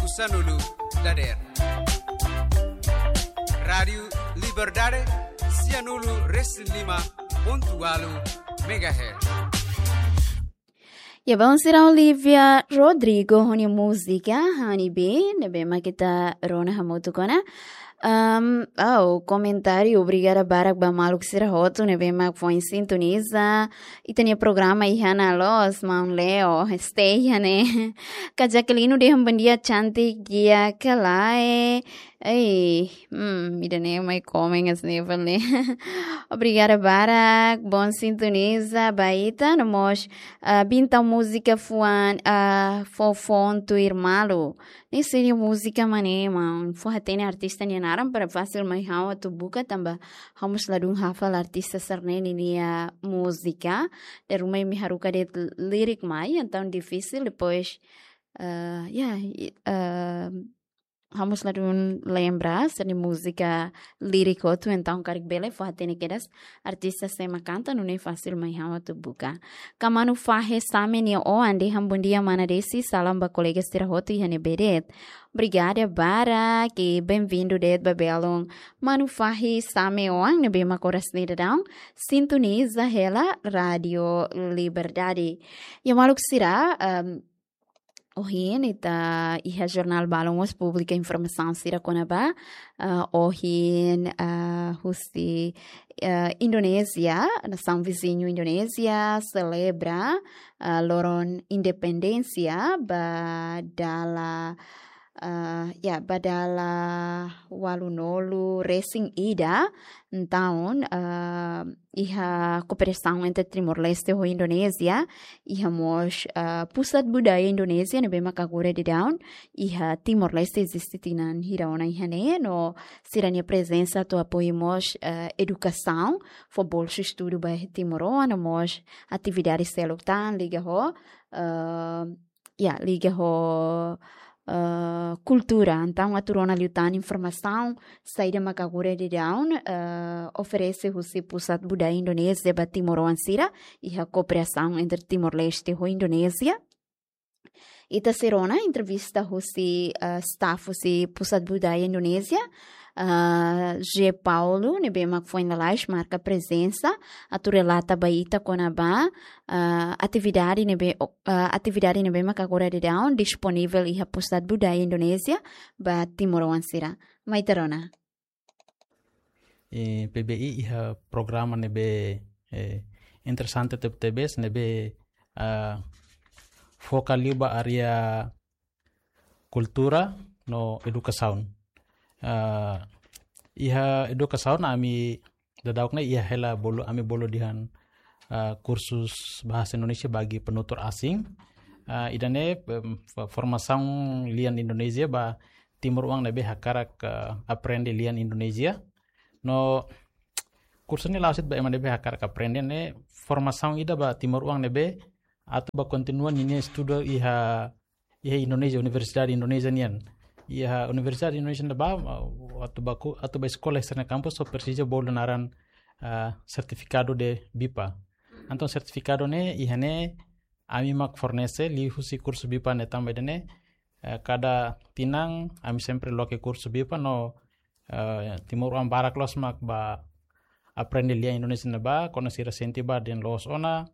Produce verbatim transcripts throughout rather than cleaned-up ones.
Sanulu dader. Rádiu Liberdade, sianulu resin lima pontu ualu megahertz. Ya, bom, sira Olivia Rodrigo ho nia múzika Honey Bee, ne'ebé mak ita rona hamutuk ona. Um, oh, komentáriu, obrigada barak ba maluk sira hotu ne'ebé mak foin sintoniza ita-nia programa iha ne'e loos, maun Leo, stay iha ne'e. Kak Jacqueline dehan bom dia cantik, dia kalae. Ei, hmm, ida-ne'e mai komen as never ne. Obrigada barak, bom sintoniza ba ita, no mós, ah, bintang múzika fuan, ah, fó foun tuir malu. Ne'e sira-nia múzika mak ne'e, maun, fó hatene artista nia naran para fasil mai ha'u atu buka tanba ha'u mós ladún hafal artista sira-ne'e nia múzika. Dala ruma imi haruka de'it lirik mai, entaun difisil, depois, ah, ya, i-, ah, ha'u mós ladún lembra sira-nia múzika lirik hotu, entaun karik bele fó hatene kedas artista sé mak kanta, nune'e fasil mai ha'u atu buka. Kak Manu Fahe Same nia oan dehan bom dia mana Desi, salam ba kolega sira hotu iha ne'ebé de'it. Obrigada barak, i bem-vindo de'it ba belun. Manu Fahe Same oan ne'ebé mak oras ne'e daudaun sintoniza hela Rádiu Liberdade. Ya maluk sira, um, ohin ita iha jornál balun mós publika informasaun sira kona-ba, ah, ohin, ah, husi, ah, Indonézia, nasaun viziñu Indonézia, selebra, ah, loron independénsia ba dala, ah, ya, ba dala ualunulu resin ida, entaun, ah, iha kooperasaun entre Timor-Leste ho Indonézia, iha mós, ah, Pusat Budaya Indonézia ne'ebé mak agora daudaun iha Timor-Leste eziste tinan hira ona iha ne'e, no sira-nia prezensa atu apoiu mós, ah, edukasaun, fó bolsa estudu ba timoroan, no mós atividade seluk tan liga ho, ah, ya, liga ho, ah, kultura. Entaun atu rona liután informasaun saida mak agora daudaun, ah, oferese husi Pusat Budaya Indonézia ba timoroan sira, iha kooperasaun entre Timor-Leste ho Indonézia. Ita sei rona entrevista husi, ah, staff husi Pusat Budaya Indonézia, ah, G Paulo, ne'ebé mak foin lalais marka prezensa, atu relata ba ita kona-ba, ah, atividade ne'ebé, ah, atividade ne'ebé mak agora daudaun disponivel iha Pusat Budaya Indonézia ba timoroan sira. Mai ita rona. Eh, P B I iha programa ne'ebé, eh, interesante tebetebes, ne'ebé, ah, foka liu ba área kultura no edukasaun. Ah, iha edukasaun ami daudauk ne'e iha hela bolu, ami bolu dehan, ah, kursus bahasa Indonesia bagi penutur asing. Ah, ida-ne'e, em, fo-, formasaun lian Indonézia ba timoroan ne'ebé hakarak, ah, aprende lian Indonézia. No kursu ne'e la'ós de'it ba ema ne'ebé hakarak aprende, ne'e formasaun ida ba timoroan ne'ebé atu ba kontinua ninia estudu iha, iha Indonézia, universidade Indonézia nian. Iha universidade Indonézia ne'ebá, ah, atu ba ku-, atu ba eskola iha sira-nia kampus só presiza bolu naran, ah, sertifikadu de BIPA. Entaun sertifikadu ne'e iha ne'e ami mak fornese liuhusi kursu BIPA ne'e tanba ida-ne'e, eh, kada tinan ami sempre loke kursu BIPA no, eh, timoroan barak loos mak ba aprende lian Indonézia ne'ebá, kuandu sira sente ba dehan loos ona,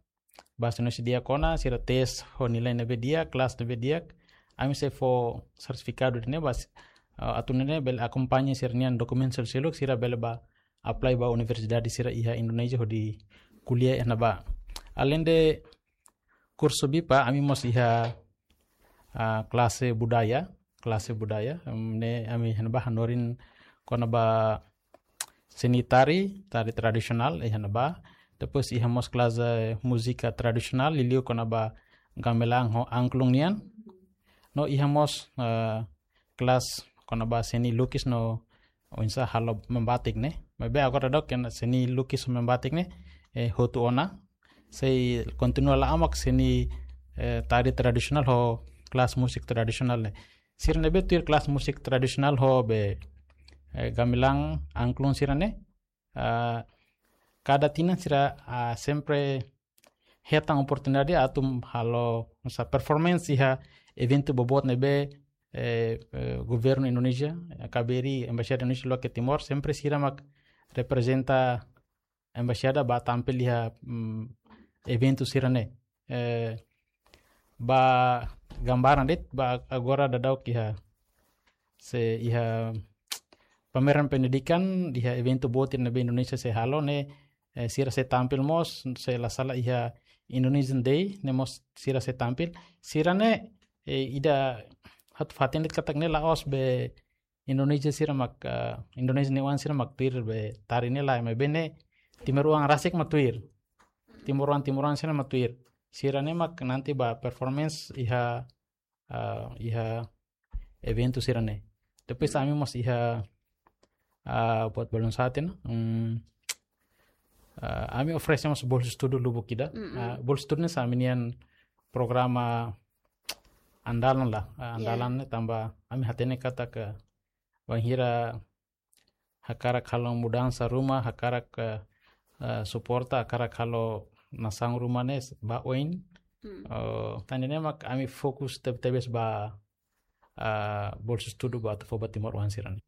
bahasa Indonézia di'ak ona, sira tes ho nilai ne'ebé di'ak, kelas ne'ebé di'ak, ami sei fó sertifikadu ida-ne'e ba, eh, atu nune'e bele akompaña sira-nia dokumentu seluk, sira bele ba apply ba universidade sira iha Indonézia hodi kuliah iha ne'ebá. Aleinde kursu BIPA, ami mós iha, ah, klase budaya, klase budaya, em, ne'e ami iha ne'ebá hanorin kona-ba seni tari, tari tradisionál iha ne'ebá. Depois iha mós klase múzika tradisionál, liuliu kona-ba gamelan ho angklung nian. No iha mós, eh, kelas kona-ba seni lukis no oinsá halo membatik ne'e. Maibé agora daudauk seni lukis ho membatik ne'e, eh, hotu ona. Sei kontinua la'o mak seni, eh, tari tradisionál ho kelas musik tradisionál ne'e. Sira ne'ebé tuir kelas musik tradisionál ho be, eh, gamelan angklung sira-ne'e, ah, kada tinan sira, ah, sempre hetan oportunidade atu halo, oinsá, performance iha eventu boboot ne'ebé, eh, eh, governu Indonézia, eh, K B R I, Embaixada Indonézia loke Timor, sempre sira mak reprezenta embaixada ba tampil iha, mm, eventu sira-ne'e. Eh, ba gambaran de'it, ba agora daudaun iha, se iha pameran pendidikan, iha eventu boot ne'ebé Indonézia sei halo ne'e, eh, sira sei tampil mós, se la sala iha Indonesian Day, ne'e mós sira sei tampil. Sira-ne'e, eh, ida atu hatene katak ne'e la'ós be Indonézia sira mak, eh, Indonézia nia oan sira mak tuir be tari ne'e lae, maibé ne'e timoroan rasik mak tuir. Timoroan, timoroan sira mak tuir. Sira-ne'e mak nanti ba performance iha, eh, iha eventu sira-ne'e. Depois ami mós iha, eh, buat balun sá tiha ona. Hmm, eh, ami oferese mós bolsa estudu lubuk ida. Mm-mm. Eh, bolsa estudu ne'e hanesan ami-nian programa andalan lah, eh, Ya. Andalan ne'e tanba ami hatene katak bainhira hakarak halo mudansa ruma, hakarak, eh, eh, suporta, hakarak halo nasaun ruma ne'e ba oin. Hmm. Eh, tan ne'e mak ami fokus teb-, tebes ba, eh, bolsa estudu ba atu fó ba timoroan sira-ne'e.